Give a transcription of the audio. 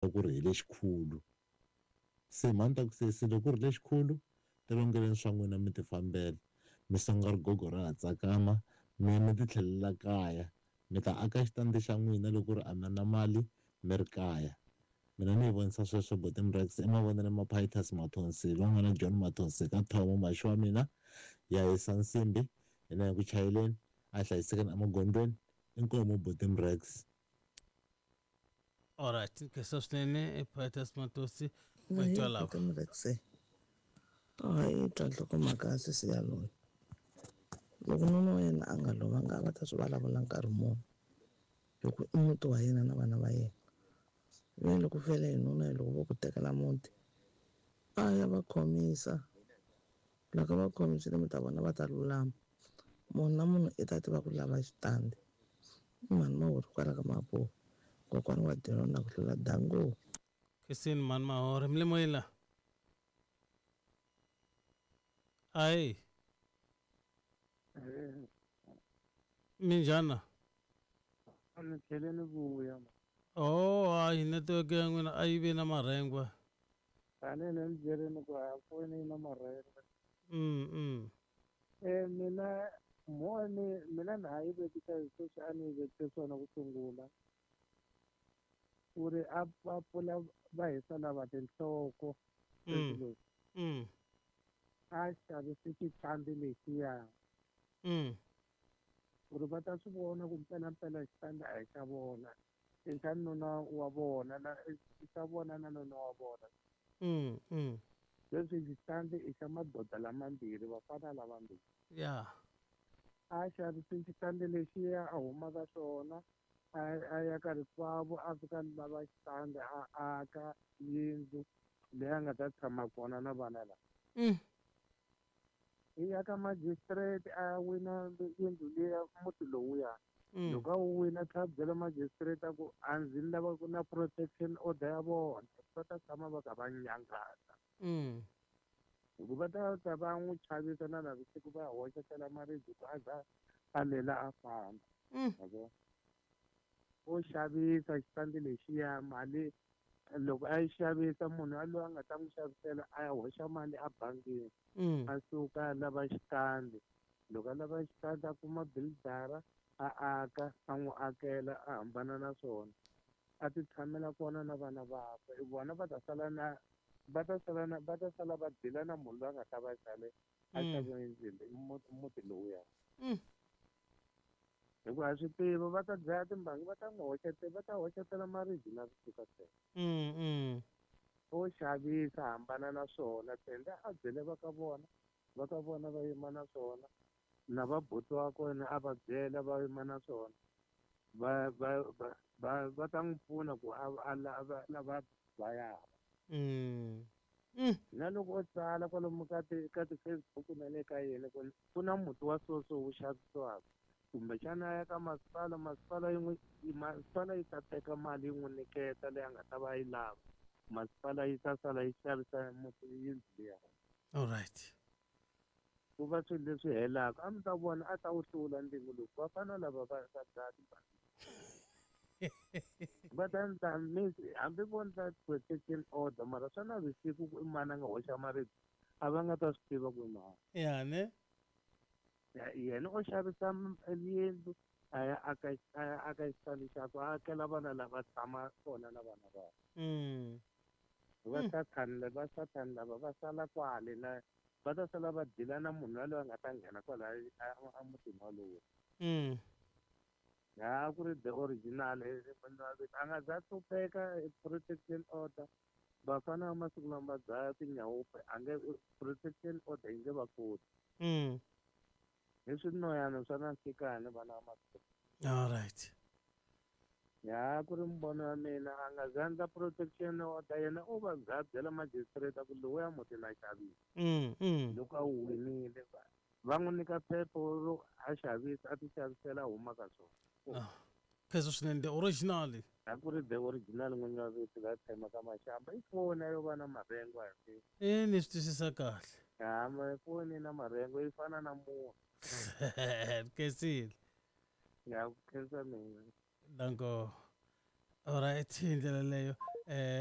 Ku ri hi lexikulu se mhani ta ku sesi loko ku ri lexikulu tilongeleni swa n'wina mi ti fambela mi songa rigogo ra ha tsakama mi ya mi ti tlhelela kaya mi ta aka xitandi xa n'wina loko ku ri a mi na mali mi ri kaya mina ni yi vonisa sweswo buti Mrex i mavonelo ma Pitus Mathonsi loyi nga na John Mathonsi ka Thomo maxi wa mina ya hisa nsimbi hina hi ku chayeleni a hlayisekeni emagondzweni inkomu buti Mrex. Alright, nkhensa swinene Pitus Matosi wa lava. Mrex. Hayi twa nhlokomhaka ya sesi yaloye. Loko nuna wa yena a nga lovanga a va ta swi vulavula nkarhi muni hi ku i muti wa yena na vana va yena. Ve loko fele hi nuna hi loko vo ku tekela muti a ya va khomisa loko va khomisile mi ta vona va ta lulama munhu na munhu i ta tiva ku lava xitandi i mhani Mahori kwala ka Mapuwa kokwana wa Diron na ku hlula dango. Christine mhani Mahori mi le moyeni la ayi minjhani A ni tlhele ni vuya. Oh hayi network ya n'wina a yi ve na marhengwa. Tanihi ni byerini ku a foni yi na marhengwa. Mm. Mina mhoni mina na ha yi vekisa hi sweswi a ni yi vekise swona ku sungula. Ku ri a va pfula va hisa lava tinhloko. A xavise xitandi lexiya. Ku ri va ta swi vona ku mpelampela xitandi a hi xa vona. I xa nuna wa vona na i xa vona na nuna wa vona. Leswi xitandi i xa madoda lamambirhi vafana lavambirhi. Yeah. A xavise xitandi lexiya a huma ka swona a ya ka rikwavo a fika lava xitandi a aka yindlu leyi a nga ta tshama kona na vana lava. I ya ka magistrate a wina yindlu liya muti lowuya. Loko a wu wina tlhela byela magistrate a ku a ndzi lava ku na protection order ya vona va ta tshama va kha va nyangasa. Hikuva va ta ta va n'wi chavisa na navusiku va hoxetela maribye ku a za a lela a famba. O xavisa xitandi lexiya mali loko a yi xavisa munhu yaloye a nga ta n'wi xavisela a ya hoxa mali ebangini. A suka a lava xitandi loko a lava xitandi a kuma buildara a aka a n'wi akela a hambana na swona a ti tshamela kona na vana vakwe vona va ta sala na va ta sala na va ta sala va dila na munhu loyi a nga ta va xave a xave muti lowuya. Hikuva a swi tiva va ta dlaya timbangi va ta n'wi hoxetela va ta hoxetela maribye na vusiku ntsena. O xavisa hambana na swona tenda a byele va ka vona va ka vona va yima na swona na va buti wa kona a va byela va yima na swona va va va va ta n'wi pfuna ku a lava va ya. Na loko o tsala kwalomu ka ti ka ti-Facebook na le ka yena ku na muti wa soso wu xavisiwaka kumbexana a ya ka masipala masipala yi n'wi masipala yi ta teka mali yi n'wi nyiketa leyi a nga ta va yi lava masipala yi ta sala yi xavisa muti yindlu liya. All right. Ku va swilo leswi helaka a mi ta vona a ta wu hlula ndzingo lowu vafana lava va va dlaya timbangi va ta endla hambi vo endla protection order mara swa navusiku ku i mani a nga hoxa maribye a va nga ta swi tiva ku i mani. Ya ne? Yena o xavisa yindlu a ya aka a ya aka xitandi xakwe a akela vana lava tshama kona na vana vakwe. Va sathani va sathani lava va sala kwale na va ta sala va dila na munhu yaloye a nga ta nghena kwalaya a mutini walowo. Ya ku ri the original a nga za hlupheka protection order vafana va masiku lama va dlaya tinyawupe a nge protection order yi nge va koti. Hi swinoyana swa na nhlikani vana va masiku. All right. Ya ku ri mbono wa mina a nga za endla protection order yena u va za byela magistrate ku lowuya muti na xavisa. Loko a wu winile va n'wi nyika phepha ro a xavisa a ti xavisela a huma ka swona. Phezulu swinene the original. A ku ri the original n'winyi wa vito la tshama ka Mashamba i foni yo va na marengo a hi. Ni swi twisisa kahle. Ya ma foni na marengo yi fana na munhu. Khensile. Ya ku khensa mina. Danko. All right, hi ndlela leyo.